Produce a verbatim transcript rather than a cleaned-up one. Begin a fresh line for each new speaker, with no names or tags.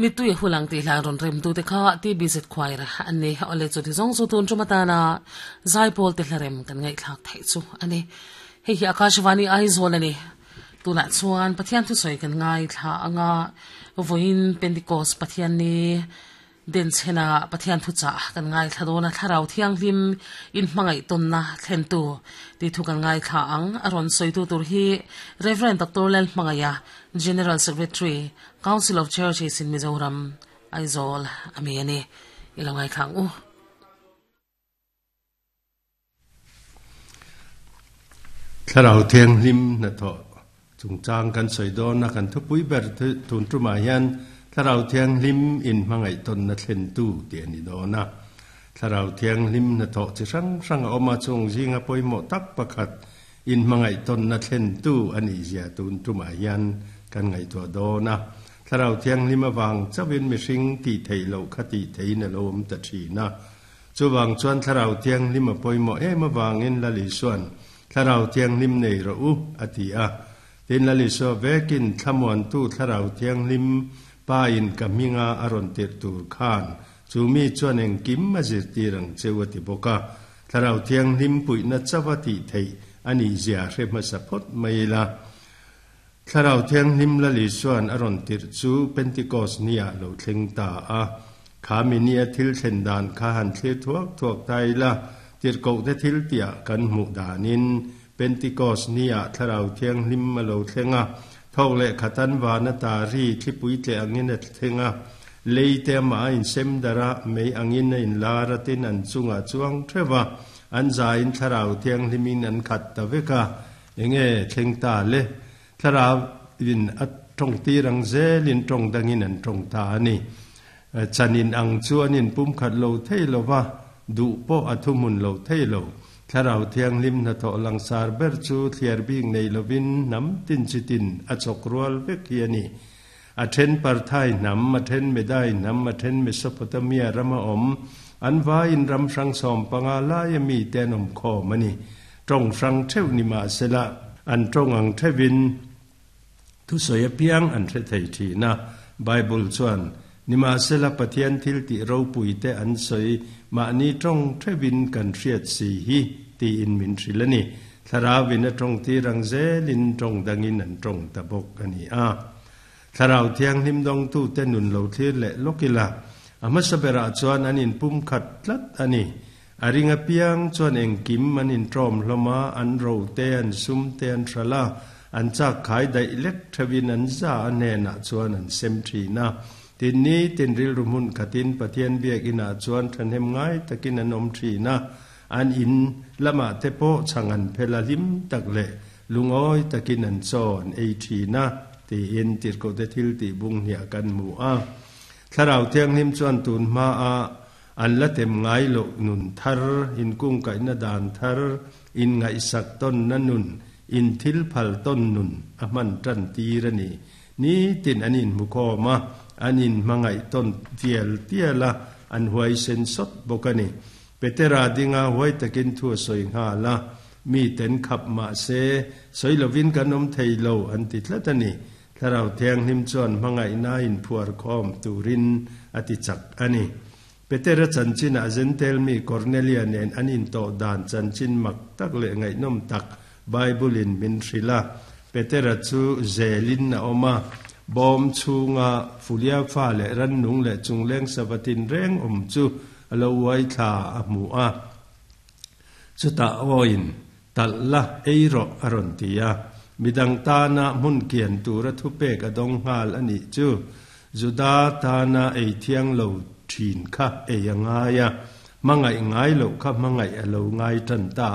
Mitui hulang ti hla ron rem tu te kha ti bizet choir ani ole chu ti zong chu tun chumatana zaipol te hlarem kan ngai thlak thai chu ani hei hi Akashvani Aizawl ani tuna chuan Pathian thu soi kan ngai thla anga voin Pentecost Pathian ni den chena Pathian thu cha kan ngai thla dona thlarau thianghlim in hmangai tonna thlen tu ti thu kan ngai thla ang aron soi tu tur hi Reverend Doctor Lal Hmangaya, General Secretary, Council of Churches in Mizoram, Aizawl ami ani ilo ngai thlang u.
Thlarau thianghlim na tho chung chang kan soi don na kan thu pui ber tun tu ma hian thlarau thianghlim in hmangai ton na thlen tu ti ani do na thlarau thianghlim na tho chi sang sang oma chung zinga poimo tak pakhat in hmangai ton na thlen tu ani zia tun tu ma hian kan ngai to do na thlarau thianghlim awang chawin mi hring ti thei lo khati thei na lom ta thi na chuwang chuan thlarau thianghlim a poimo em awangin lali suan thlarau thianghlim nei ro u ati a tin lali so vekin thlamuan tu thlarau thianghlim pa in kaminga aron tir tur khan chumi chuan eng kim ma zir tirang chewati boka thlarau thianghlim pui na chawati thei ani zia hre ma sapot maila thlarau thianghlim lali suan aron tir chu Pentecost nia lo thleng ta a khami nia thil thlen dan kha han thlir thuak thuak tai la tir ko te thil tia kan mu danin Pentecost nia thlarau thianghlim ma lo thlenga thok le khatan wana ta ri thlipui tle angin a thlenga leite ma in sem dara mei angin in lara tin an chunga chuang thewa an za in thlarau thianghlimin an khat ta veka enge thleng ta le thlarau in at tong ti rang zelin tong dangin an tong ta ani chanin ang chuan in pum khat lo thei lova du po athumun lo thei lo thlarau thianghlim na tho langsar ber chu thliar bing nei lovin nam tin chitin a chok rual vek hi ani a then parthai nam a then medai nam a then Mesopotamia rama om an va in ram sang som panga lai mi tenom kho mani tong sang theu ni ma sela an tong ang thevin thu soi piang an the thei thi na Bible chuan nima sela Pathian thil ti ro pui te an soi ma ni tong thevin kan hriat si hi ti in min thrilani tharawin a tong ti rang zelin tong dangin an tong tabok ani a tharau thianghlim dong tu te nun lo thlir le lokila ama sabera chuan anin pum khat tlat ani aringa piang chuan engkim anin trom hloma an ro te an sum te an thala an chak khai dai lek thevin an za ane na chuan an sem thina tin ni tin ril rumun khatin Pathian biak ina chuan thanem ngai takin an om thina an in lama te po changan phela lim takle lungoi takin an chon ei thina ti in tir ko te thil ti bung hia kan mu a thlarau thianghlim chuan tun ma a an la tem ngai lo nun thar in kung kai na dan thar in ngai sak ton na nun in thil phal ton nun a man tan ti rani ni tin anin mu ko ma anin mangai ton tiel tiela an huai sen sot bokani Petera dinga huai takin thu soi nga la mi ten khap ma se soi lovin kanom thei lo an ti tlatani tharau thianghlim chuan mangai na in phuar khom turin ati chak ani Petera chanchin a zentel mi Cornelia nen anin to dan chanchin mak tak le ngai nom tak Bible in min thrila Petera chu zelin na oma bom chunga fulia fa le ran nung le chungleng sabatin reng om chu alo wai tha a mu a chuta oin talla eiro aron tia midang ta na mun kian tura thu pe ka dong ngal ani chu juda ta na ei thiang lo thin kha e anga ya mangai ngai lo kha mangai alo ngai tan ta